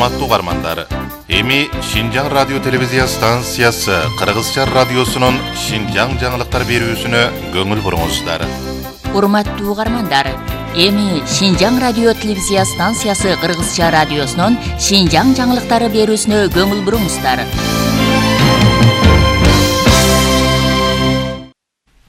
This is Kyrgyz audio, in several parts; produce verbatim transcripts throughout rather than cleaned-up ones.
Урматтуу угармандар, эми Шинжаң радио телевизия станциясы Кыргызча радиосунун Шинжаң жаңылыктар берүүсүнө көңүл буруңуздар. Урматтуу угармандар, эми Шинжаң радио телевизия станциясы Кыргызча радиосунун Шинжаң жаңылыктары берүүсүнө көңүл буруңуздар.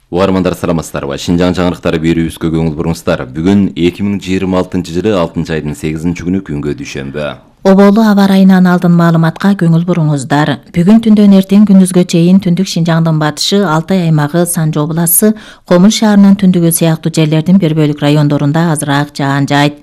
Угармандар саламатсыздарбы? Шинжаң жаңылыктары берүүбүзгө көңүл буруңуздар. Бүгүн эки миң жыйырма алтынчы жылы алтынчы айдын сегизинчи күнү күнгө дүйшөмбү. Оболу аба ырайынан алдын маалыматка көңүл буруңуздар. Бүгүн түндөн эртең күндүзгө чейин түндүк Шинжаңдын батышы, Алтай аймагы, Санжы областы, Комул шаарынын түндүгү сыяктуу жерлердин бир бөлүк райондорунда азыраак жаан жаайт.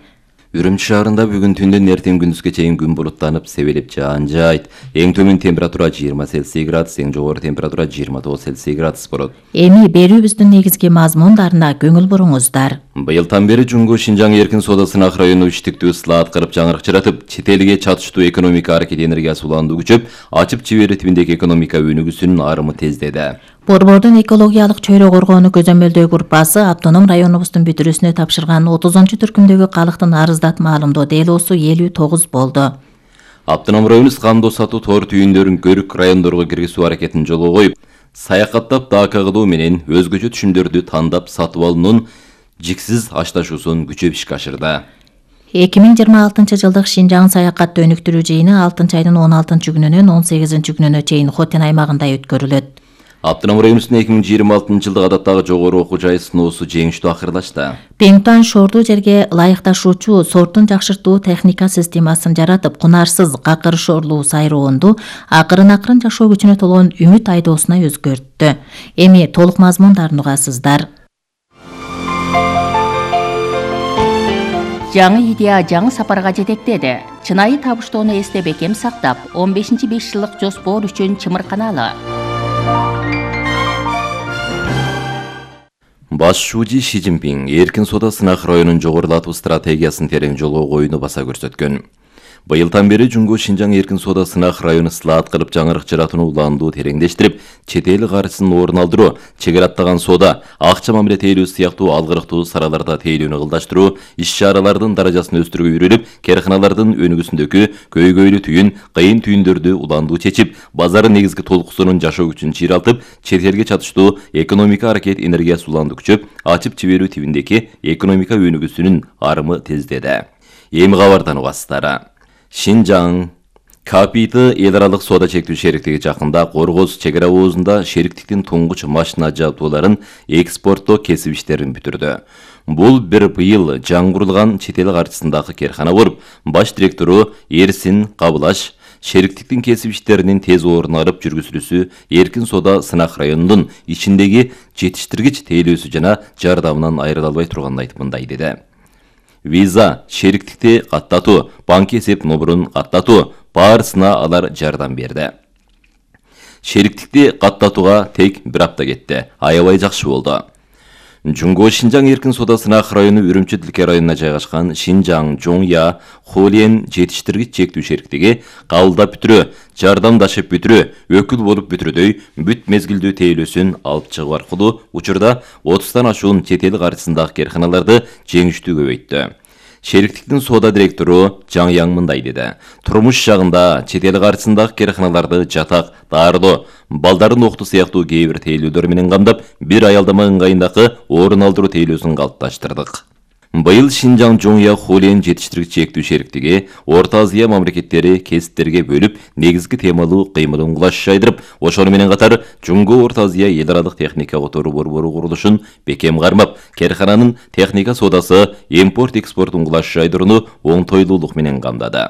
Үрүмчү шаарында бүгүн түндөн эртең күндүзгө чейин күн булуттанып, себелеп жаан жаайт. Эң төмөн температура жыйырма Цельсий градус, эң жогору температура жыйырма тогуз Цельсий градус болот. Эми берүүбүздүн негизги мазмундарына көңүл буруңуздар. Быйылдан бери Жумгу Шинжаң эркин соода сынак району иштиктүү ысылаат кырып жаңырык жаратып, чет элге чатыштуу экономика аракет энергиясы уланду күчөп, ачып чебери тибиндеги экономика өнүгүүсүнүн арымы тездеди. Борбордун экологиялык чөйрө коргоону көзөмөлдөө группасы автоном районубуздун бүтүрүүсүнө тапшырган отузунчу түркүмдөгү калктын арыздат маалымдоо делоосу элүү тогуз болду. Автоном районубуз кандоо сатуу тоор түйүндөрүн көрүк райондорго киргизүү аракетин жолго коюп, саякаттап дака кылуу менен өзгөчө түшүмдөрдү тандап сатып алуунун жиксиз ашташуусун күчөп ишке ашырды. эки миң жыйырма алтынчы жылдык Шинжаң саякатты өнүктүрүү жыйыны алтынчы айдын он алтынчы күнүнөн он сегизинчи күнүнө чейин Хотен аймагында өткөрүлөт. Автоном районубуздун эки миң жыйырма алтынчы жылдык адаттагы жогору окуу жайы сыноосу жеңиштүү акырдашты. Пеңтуан шордуу жерге ылайыкташуучу сортун жакшыртуу техника системасын жаратып, кунарсыз какыр шорлуу сайроонду акырын-акырын жашоо күчүнө толгон үмүт айдоосуна өзгөрттү. Эми толук мазмундарын угасыздар. Жаңы идея жаңы сапарга жетектеди. Чынайы табыштоону эсте бекем сактап, он бешинчи беш жылдык жоспор үчүн чымырканалы. Баш шүүжи Ши Цзиньпин эркин соода сынак районун жогорулатуу стратегиясын терең жолго коюуну баса көрсөткөн. Быйылдан бери Жумгу Шинжаң эркин соода сынак району ысылаат кылып жаңырык жаратууну улаандуу тереңдештирип, чет эл каржысын орун алдыруу, чегара аттаган соода, акча мамиле тейлөө сыяктуу алгырыктуу сараларда тейлөөнү ылдаштыруу, иш-чаралардын даражасын өстүрүүгө үйрөнүп, карханалардын өнүгүүсүндөгү көйгөйлүү түйүн, кыйын түйүндөрдү улаандуу чечип, базардын негизги толкусунун жашоо күчүн чыйралтып, чет элге чатыштуу экономика аракет энергиясы улаандуу күчөп, ачып чеберүү тибиндеги экономика өнүгүүсүнүн арымы тездеди. Эми кабардан угасыздар. Шинжаң Капиты эл аралык соода чектүү шериктиги жакында Коргоз чек ара оозунда шериктиктин туңгуч машина жабдууларын экспорттоо кесип иштерин бүтүрдү. Бул бир быйыл жаңы курулган чет эл каржысындагы кархана болуп, баш директору Эрсин Кабылаш шериктиктин кесип иштеринин тез орун алып жүргүзүлүүсү эркин соода сынак районунун ичиндеги жетиштиргич тейлөөсү жана жардамынан айрыла албай турганын айтып мындай деди. Виза, шериктикти каттатуу, банк эсеп номерун каттатуу баарысына алар жардам берди. Шериктикти каттатууга тек бир апта кетти. Аябай жакшы болду. Жумгу Шинжаң эркин соода сынак району Үрүмчү Тилке районуна жайгашкан Шинжаң Жоңя Холиен жетиштиргич чектүү шериктиги кабылдап бүтүрүү, жардамдашып бүтүрүү, өкүл болуп бүтүрүүдөй бүт мезгилдүү тейлөөсүн алып чыгуу аркылуу учурда отуздан ашуун чет эл каржысындагы карханаларды жеңиштүү көбөйттү. Шериктиктин соода директору Жаң Яң мындай деди. Турмуш жагында чет эл каржысындагы карханаларды жатак, дарылоо, балдардын окту сыяктуу кээ бир тейлөөдөр менен камдап, бир аялдама ыңгайындагы орун алдыруу тейлөөсүн калыпташтырдык. Быйыл Шинжаң Жоңя Холиен жетиштиргич чектүү шериктиги Орто Азия мамлекеттери кесиптерге бөлүп, негизги темалуу кыймылын кулаш жайдырып, ошону менен катар Жумгу Орто Азия эл аралык техника которуу борбору курулушун бекем кармап, кархананын техника соодасы, импорт-экспорт кулаш жайдырууну оңтойлуулук менен камдады.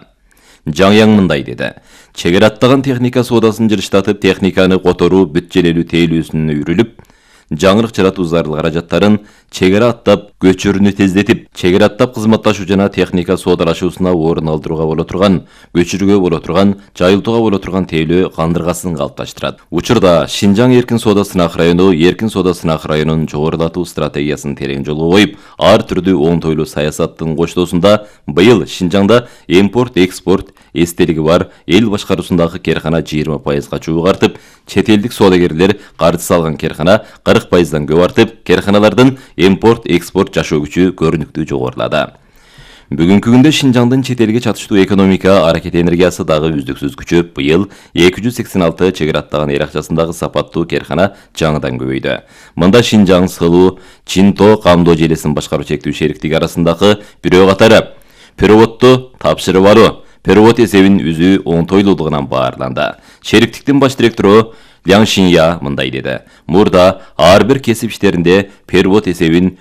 Жаң Яң мындай деди. Чек ара аттаган техника соодасын жылыштатып, техниканы которуу бүт желелүү тейлөөсүнө үйрүлүп, жаңырык жаратуу зарыл каражаттарын чек ара аттап көчүрүүнү тездетип, чек ара аттап кызматташуу жана техника соодалашуусуна орун алдырууга боло турган, көчүрүүгө боло турган, жайылтууга боло турган тейлөө кандыргасын калыпташтырат. Учурда Шинжаң эркин соода сынак району эркин соода сынак районун жогорулатуу стратегиясын терең жолго коюп, ар түрдүү оңтойлуу саясаттын коштоосунда быйыл Шинжаңда импорт-экспорт эстелиги бар эл башкаруусундагы кархана жыйырма пайызга чогуу артып, чет элдик соодагерлер каржы салган кархана кырк пайыздан көп артып, карханалардын импорт-экспорт жашоо күчү көрүнүктүү жогорулады. Бүгүнкү күндө Шинжаңдын чет элге чатыштуу экономика аракет энергиясы дагы үздүксүз күчөп, быйыл эки жүз сексен алты чек ара аттаган эл акчасындагы сапаттуу керкана жаңыдан көбөйдү. Мында Шинжаң Сылуу Чинто камдоо желесин башкаруу чектүү шериктиги арасындагы бирөө катары переводду тапшырып алуу, перевод эсебин үзүү оңтойлуулугунан баарланды. Шериктиктин баш директору Лян Шинья мындай деди. Мурда ар бир кесип иштеринде перевод эсебин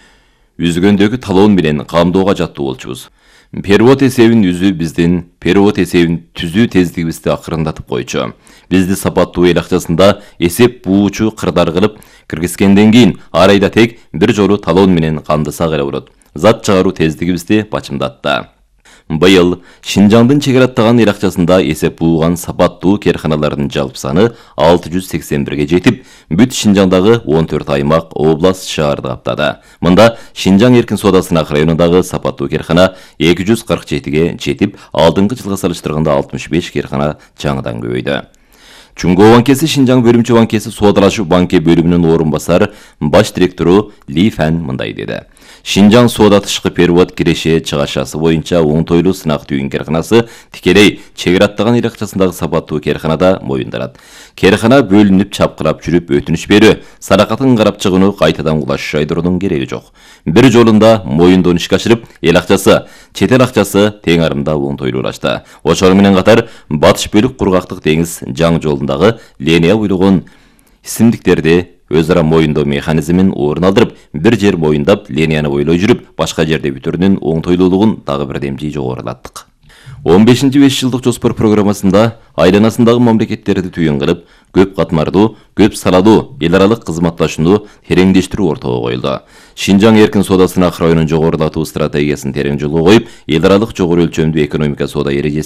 үзгөндөгү талоон менен камдоого жаттуу болчубуз. Перевод эсебин үзүү биздин перевод эсебин түзүү тездигибизди акырындатып койчу. Бизди сапаттуу эл акчасында эсеп буучу кырдар кылып киргизгенден кийин ар айда тек бир жолу талоон менен камдасак эле болот. Зат чыгаруу тездигибизди бачымдатты. Быйыл Шинжаңдын чек ара аттаган эл акчасында эсеп бууган сапаттуу керканалардын жалпы саны алты жүз сексен бирге жетип, бүт Шинжаңдагы он төрт аймак, область, шаарды каптады. Мында Шинжаң эркин соода сынак районундагы сапаттуу керкана эки жүз кырк жетиге жетип, алдыңкы жылга салыштырганда алтымыш беш керкана жаңыдан көбөйдү. Чуңгоо банкеси Шинжаң бөлүмчө банкеси соодалашуу банке бөлүмүнүн орун басар баш директору Ли Фан мындай деди. Шинжаң соода тышкы перевод киреше чыгашасы боюнча оңтойлуу сынак түйүн керканасы тикелей чек ара аттаган эл акчасындагы сапаттуу керканада моюнданат. Керкана бөлүнүп чапкырап жүрүп өтүнүч берүү, саракатын карап чыгууну кайтадан кулаш жайдыруунун кереги жок. Бир жолунда моюндон ишке ашырып, эл акчасы, чет эл акчасы тең арымда оңтойлуулашты. Ошол менен катар батыш бөлүк кургактык деңиз жаңы жолундагы линия буйлугун исимдиктерди өз ара моюндоо механизмин орун алдырып, бир жер моюндап, линияны бойлой жүрүп, башка жерде бүтүрүүнүн оңтойлуулугун дагы бир демжи жогорулаттык. он бешинчи беш жылдык жоспор программасында айланасындагы мамлекеттерди түйүн кылып, көп катмардуу, көп салалуу эл аралык кызматташууну тереңдештирүү ортого коюлду. Шинжаң эркин соода сынак районун жогорулатуу стратегиясын терең жолго коюп, эл аралык жогору өлчөмдүү экономика соода эрежеси